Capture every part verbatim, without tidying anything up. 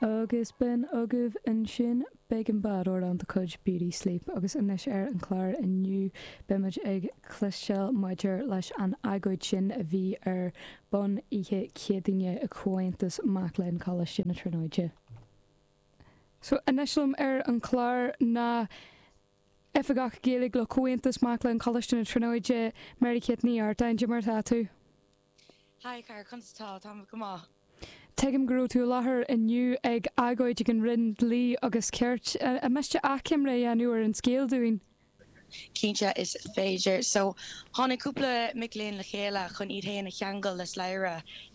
Agus b'in agaibh ansin Big and Bad amhrán de chuid Beauty Sleep agus anois ar an chlár inniu beimid ag cloisteáil maidir leis an agóid sin a bhí ar bun oíche Chéadaoine i Comhaontas Mac Léinn Choláiste na Tríonóide. So anois liom ar an chlár ná Oifigeach Gaeilge le Comhaontas Mac Léinn Choláiste na Tríonóide Mary Kate Ní Artáin mar tá tú. Hi car conas tá tá go maith. Tuigim go raibh tú i láthair inniu ag agóid ag an Roinn Dlí agus Cirt an miste achoimre a dhéanamh ar an scéal dúinn. Cinnte is féidir. So tháinig cúpla mic léinn le chéile chun iad féin a cheangal le slabhra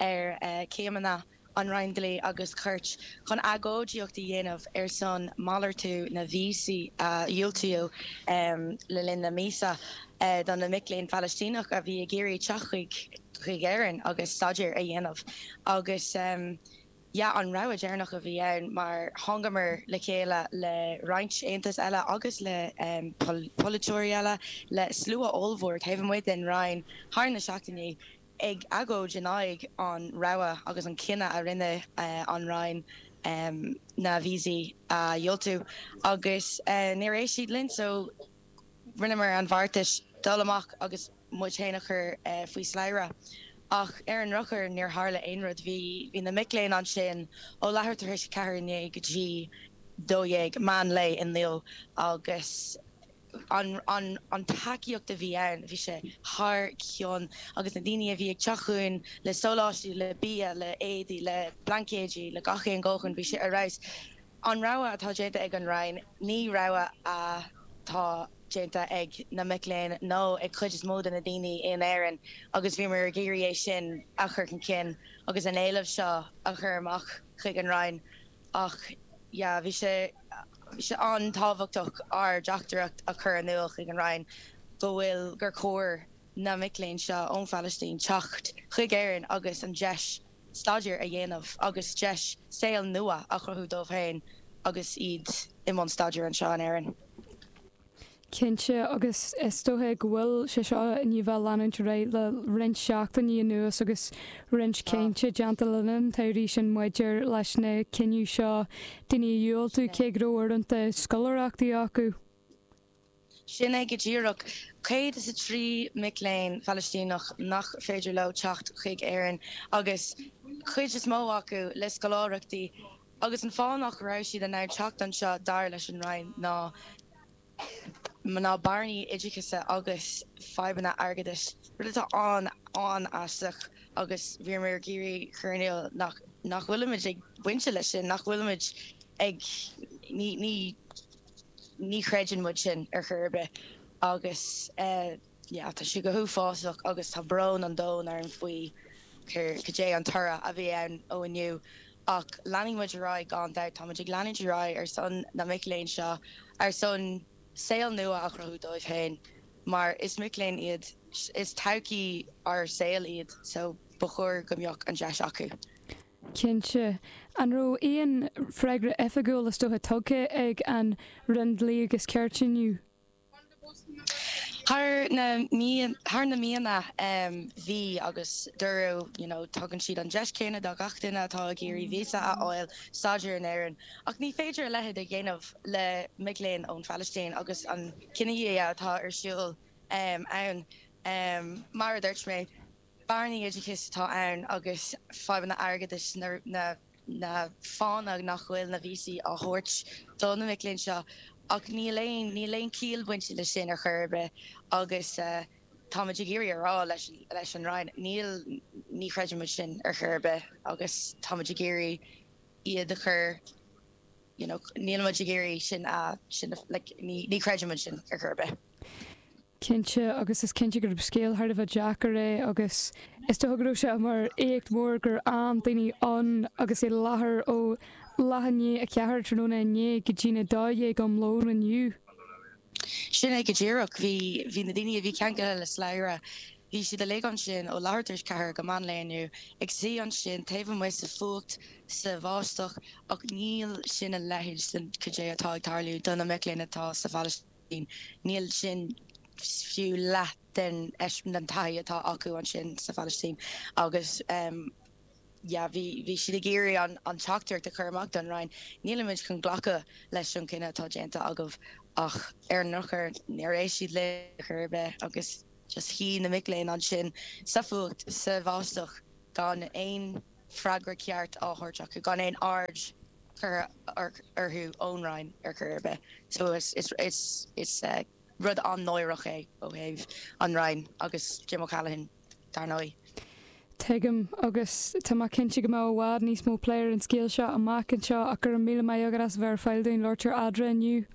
ar uh, céimeanna an Roinn Dlí agus Cirt chun agóidíocht a dhéanamh ar son malartú na víosaí a dhiúltaíodh um, le linn na míosa uh, don na mic léinn Phalaistíneach a bhí ag iarraidh teacht chuig chuig Éirinn agus staidéar a dhéanamh agus um, ja an rogha deireanach a bhí ann mar thángamar le chéile le roinnt aontas eile agus le um, pol polaiteoirí eile le slua ollmhór taobh amuigh den Roinn thar na seachtainí ag agóid in aghaidh an rogha agus an cinneadh a rinne uh, an Roinn um, na víosaí a uh, dhiúltú agus uh, níor éist siad linn so rinneamar an bheartas dul amach agus muid féin a chur uh, faoi slabhra. Ach ar an drochuair níor tharla aon rud bhí bhí na mic léinn ansin ó leathuair tar éis ceathair inné go dtí dó dhéag meán lae inniu agus an an an tacaíocht a bhí ann bhí sé thar cionn agus na daoine a bhí ag teacht chugainn le sóláistí le bia le éadaí le blaincéidí le gach aon ghóchuin bhí sé ar fheabhas. An rogha atá déanta ag an Roinn ní rogha atá déanta ag na mic léinn nó ag cuid is mó de na daoine in Éirinn agus bhíomar ag iarraidh é sin a chur chun cinn agus an éileamh seo a chur amach chuig an Roinn ach ja bhí sé bhí sé an-tábhachtach ár dteachtaireacht a chur in iúl chuig an Roinn go bhfuil gur chóir na mic léinn seo ón Phalaistín teacht chuig Éirinn agus an deis staidéar a dhéanamh agus deis saol nua a chruthú dóibh féin agus iad i mbun staidéir anseo in Éirinn. Cinnte agus is dócha go bhfuil sé seo i ndiaidh bheith leanúint réidh le roinnt seachtainí anuas agus roinnt cainte déanta le linn tairí sin maidir leis na cinní seo daoine a dhiúltú cé go raibh uaireanta scoláireachtaí acu. Sin é go díreach céad is a trí mic léinn Phalaistíneach nach féidir leo teacht chuig Éirinn agus cuid is mó acu le scoláireachtaí agus an fáth nach raibh siad in ann teacht anseo dar leis an Roinn ná ná bearnaí oideachais agus fadhbanna airgeadais rud atá an an-aisteach agus bhíomar ag iarraidh chur in iúl nach nach bhfuilimid ag baint leis sin nach bhfuilimid ag ní ní ní chreideann muid sin ar chor ar bith agus uh, yeah, tá sé go huafásach agus tá brón an domhain orainn faoi cad é an toradh a bhí ann ó inniu ach leanfaidh muid ar aghaidh gan dabht tá muid ag leanúint ar aghaidh ar son na mic léinn seo ar son saol nua a chruthú dóibh féin mar is mic léinn iad is todhchaí ár saol iad so ba chóir go mbeadh an deis acu. Cinnte an raibh aon freagra oifigiúil is dócha tugtha ag an Roinn Dlí agus Cirt inniu. Thar na mí thar na míonna um, bhí agus dúradh you know, tugann siad an deis céanna do gach duine atá ag iarraidh víosa a fháil staidéar in Éirinn. Ach ní féidir a leithéid a dhéanamh le mic léinn ón Phalaistín agus an cinedhíothú atá ar siúl um, ann um, mar a dúirt mé bearnaí oideachais atá ann agus fadhbanna airgeadais na, na na fáthanna nach bhfuil na víosaí á thabhairt do na mic léinn seo ach níl aon níl aon chiall bainte leis sin ar chor ar bith agus uh, táimid ag iarraidh a rá leis leis an Roinn níl ní chreideann muid sin ar chor ar bith agus táimid ag iarraidh iad a chur you know, níl muid ag iarraidh sin a sin like, ní, ní chreideann muid sin ar chor ar bith. Cinnte agus is cinnte gur scéal thar a bheith deacair é agus is dócha go raibh sé mar éacht mór gur fhan daoine ann agus i láthair ó leath i ndiaidh a ceathair tráthnóna inné go dtí a dó dhéag um lón inniu. Sin é go díreach bhí bhí na daoine a bhí ceangailte le slabhra. Bhí siad uilig ansin ó leathuair tar éis ceathair go meán lae inniu ag suí ansin taobh amuigh sa fuacht sa bháisteach ach níl sin a leithéid den cad é atá ag tarlú do na mic léinn atá sa Phalaistín. Níl sin fiú leath den den taithí atá acu ansin sa Phalaistín agus um, yeah, bhí bhí siad ag iarraidh an an teachtaireacht a chur amach don Roinn nílimid chun glacadh leis an cinneadh atá déanta agaibh ach ar an ndrochuair níor éist siad leo chor ar bith agus just shuigh na mic léinn ansin sa fuacht sa bháisteach gan aon freagra ceart á thabhairt acu gan aon aird curtha orthu ón Roinn ar chor ar bith. So is is is is uh, rud an-náireach é ó thaobh an Roinn agus Jim O'Callaghan dar ndóigh. Tuigim agus tá mé cinnte go mbeidh i bhfad níos mó plé ar an scéal seo amach anseo ach go raibh míle maith agat as bheith ar fáil dúinn labhairt ar Eadra inniu.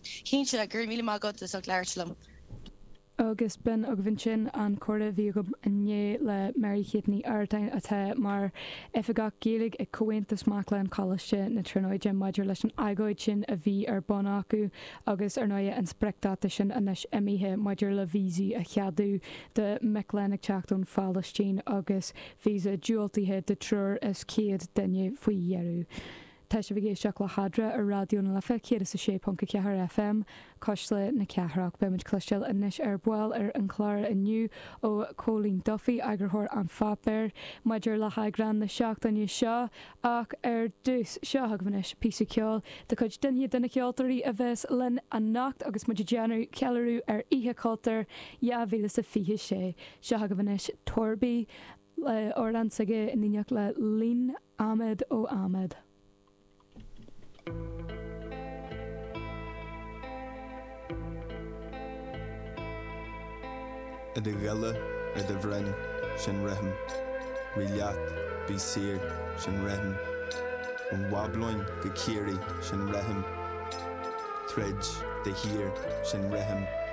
Cinnte go raibh míle maith agat as labhairt liom. Agus b'in agaibh ansin an comhrá a bhí agam inné le Mary Kate Ní Artáin atá mar oifigeach Gaeilge ag Comhaontas Mac Léinn Choláiste na Tríonóide maidir leis an agóid sin a bhí ar bun acu agus ar ndóigh an spriocdháta sin anois imithe maidir le víosaí a cheadú do mhic léinn ag teacht ón Phalaistín agus víosa diúltaithe do triúr is céad duine faoi dheireadh. Tá sibh ag éisteacht le hEadra ar Raidió na Life céad is a sé ponc a ceathair FM Cuisle na Cathrach Beimid ag cloisteáil anois ar ball ar an chlár inniu ó Cóilín Duffy eagarthóir an pháipéir maidir le heagrán na seachtaine seo ach ar dtús seo agaibh anois píosa ceoil de chuid duine de na ceoltóirí a bheas linn anocht agus muid ag déanamh ceiliúradh ar Oíche Chultúir dhá mhíle is a fiche sé. Seo agaibh anois Torby le amhrán s'aige in éineacht le Lean Ahmed ó Ahmed. I do ghile ar do bhroinn, sin rithim. Rith leat, bí saor, sin rithim. Ón mBablóin go Ciarraí, sin rithim. Troid de shíor, sin rithim.